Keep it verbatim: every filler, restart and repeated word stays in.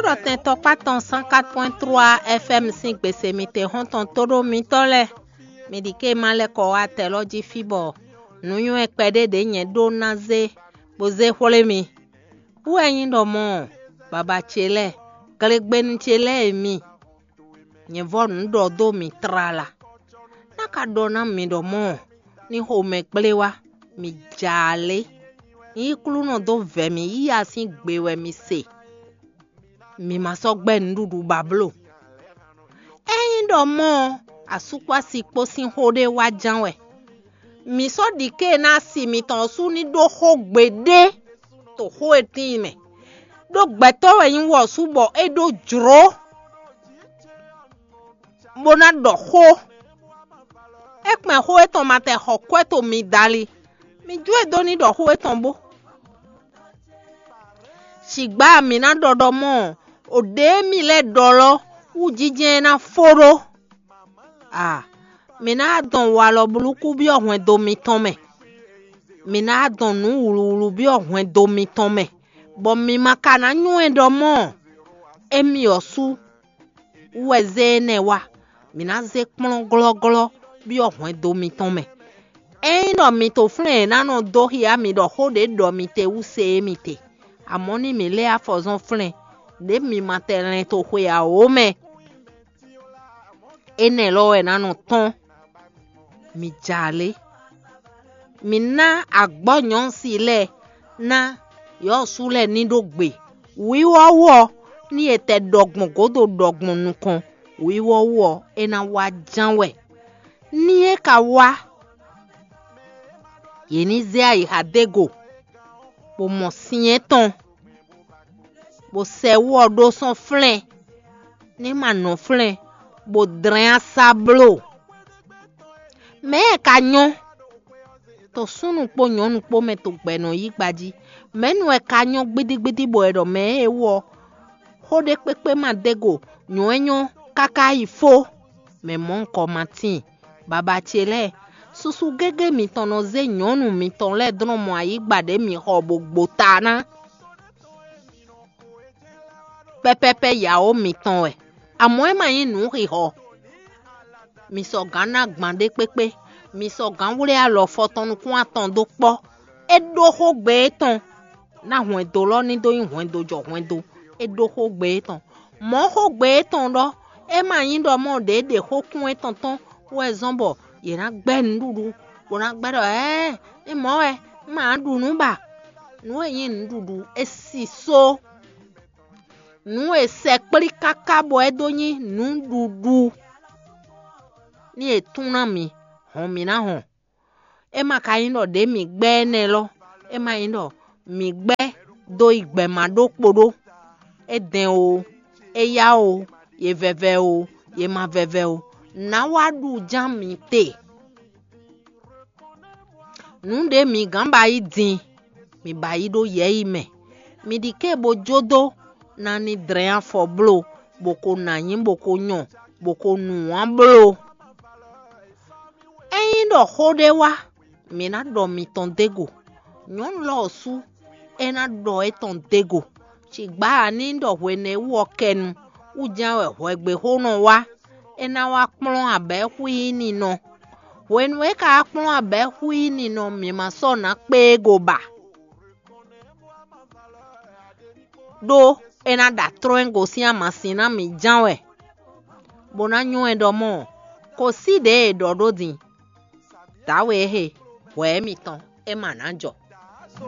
Kplɔ́tɛn tɔkpá tɔn cent quatre point trois F M sín gbese mitɛn xɔ́ntɔn tóɖó mitɔ́ lɛ́ɛ, mi ɖi ké ma lɛ́ kɔ wá tɛ lɔ jí fí bɔ nǔnywɛ́ kpɛɖé ɖě nyɛ ɖó ná zé bó zé xwlé mi. Wú wɛ nyí ɖɔ mɔ̌, baba ce lɛ́ɛ, glegbenu ce lɛ́ɛ e mi, nyɛ vɔ́ nǔ ɖɔ dó mi tlala. Ná ka ɖɔ ná mi ɖɔ mɔ̌, ní xomɛ kplé wá, mi ja alě. Nyí Klúnɔ dó vɛ̌ mì yíya sín gbe wɛ mi se. Mi ma sɔ́ gbɛ́ nǔɖuɖu ba bló. Ényí ɖɔ mɔ̌ ɔ́, asúkpási kpó sín xó ɖé wá ján wɛ. Mǐ sɔ́ ɖi ké ná si mitɔn ɔ́ sú ní ɖó xó gbeɖé to xó e tíin mɛ. Ɖó gbɛtɔ́ wɛ nyí wɔ̌sú bɔ é ɖó jlǒ, bó ná ɖɔ xó. É kpɛn xó étɔn ma tɛ xɔ kwɛ́ to mi dali. Mi jó e dó ní ɖɔ xó étɔn bó. Sigbǎ mǐ ná ɖɔ ɖɔ mɔ̌, o ɖě mi lɛ́ ɖɔ lɔ wú jínjɛ́n ná fó ɖó. A, mǐ ná dɔn walɔ blúkú byɔ́ hwɛndo mitɔn mɛ. Mǐ ná dɔn nǔ wlǔwlú byɔ́ hwɛndo mitɔn mɛ, bɔ mi ma ka ná nywɛ́ ɖɔ mɔ̌, émí ɔ́ sú wú wɛ zé énɛ́ wá; mǐ ná zé kplɔ́n glɔ́glɔ́ byɔ́ hwɛndo mitɔn mɛ. Ényí ɖɔ mi to flɛ́n e ná nɔ dó xyá mi ɖɔ xó ɖě ɖɔ mi te wú se é mi te, amɔ̌ ní mǐ lɛ́ afɔzɔ́n flɛ́n, ɖě mi ma tɛ lɛn to xwe ǎ ó mɛ. Énɛ́ lɔ wɛ ná nɔ tɔ́n. Mi ja lě. Mǐ ná agbɔ̌ nyɔ̌si lɛ́ɛ ná yɔ̌su lɛ́ɛ ní ɖó gbe. Wǐwɔ́ wú ɔ́, ní è tɛ ɖɔ gbɔn gǒdo ɖɔ gbɔn nukɔn, wǐwɔ́ wú ɔ́, é ná wá ján wɛ. Ní é ka wá, yě ní zé ayixa dó e go, bó mɔ syɛ́n tɔn, bó sɛ wú ɔ́ ɖó sɔ́ flɛ́n, ní ma nɔ flɛ́n, bó dlɛ́n asá bló. Mɛ̌ wɛ ka nyɔ́? To súnnu kpó nyɔ̌nu kpó mɛ to gbɛ̌ nɔ yí gba jí. Mɛ̌nu wɛ ka nyɔ́ gbídígbídí bɔ è ɖɔ mɛ̌ e wú ɔ́, xó ɖé kpékpé ma dó e go, nyɔ̌ é nyɔ́ káká yi fó. Mɛ mɔ̌hunkɔ ma tíin. Baba ce lɛ́ɛ, susu gégé mitɔn nɔ zé nyɔ̌nu mitɔn lɛ́ɛ dlɔ́n mɔ ayǐ gba ɖě mi xɔ bó gbo ta ná. Pɛ́pɛ́pɛ́ yǎwó mitɔn wɛ, amɔ̌ é ma nyí nǔ xixɔ. Mi sɔgǎn ná gban ɖé kpékpé, mi sɔgǎn wlé alɔ fɔtɔn nukún atɔn dó kpɔ́. É ɖó xógbe étɔn, ná hwɛndo lɔ ní dó nyí hwɛndo jɔ hwɛndo. É ɖó xógbe étɔn. Mɔ̌ xógbe étɔn ɖɔ, é ma nyí ɖɔ mɔ ɖě ɖe xókún étɔn tɔn wɛ zɔ́n bɔ yě ná gbɛ́ nǔɖuɖu, bó ná gbɛ́ ɖɔ ɛɛ, é mɔ̌ wɛ, un ma ɖu nǔ ba. Nǔ e nyí nǔɖuɖu é sísó. Nǔ e sɛkplí káká bɔ é dó nyí nǔɖuɖu, ní è tún ná mǐ, hɔn mǐ ná hɔn. É ma ka nyí ɖɔ ɖě mǐ gbɛ́ énɛ́ lɔ, é ma nyí ɖɔ mǐ gbɛ́ dó yi gbɛ ma ɖó kpo ɖó. É dɛn o, é yá o, yě vɛvɛ o, yě ma vɛvɛ o, nǎ wá ɖu ján mǐ te. Nǔ ɖě mǐ gán ba yí din, mǐ ba yí ɖó yɛ̌yi mɛ. Mi ɖi ké bo jó dó ná ní dlɛ́n afɔ bló, bó ko nǎ nyí, bó ko nyɔ, bó ko nǔ wán bló. Ényí ɖɔ xó ɖé wá, mǐ ná ɖɔ mitɔn dó e go. Nyɔ̌nu lɔ ɔ́ sú, é ná ɖɔ étɔn dó e go. Cǐgbá ǎ ní ɖɔ hwenɛ́ wú ɔ́ kɛnu, wú ján wɛ hwɛgbexónɔ wá, é ná wá kplɔ́n abɛ̌ xwíí ninɔ. Hwenu e é ka wá kplɔ́n abɛ̌ xwíí ninɔ, mǐ ma sɔ́ nǎ kpé e go ba. Ɖó é ná ɖa tlɔ́n ɛ gosín amasin ná mǐ ján wɛ, bó ná nywɛ́ ɖɔ mɔ̌, kǒ sí ɖě e è ɖɔ ɖó din. Dǎwe e he, hwɛ̌ mitɔn, é ma nǎ jɔ.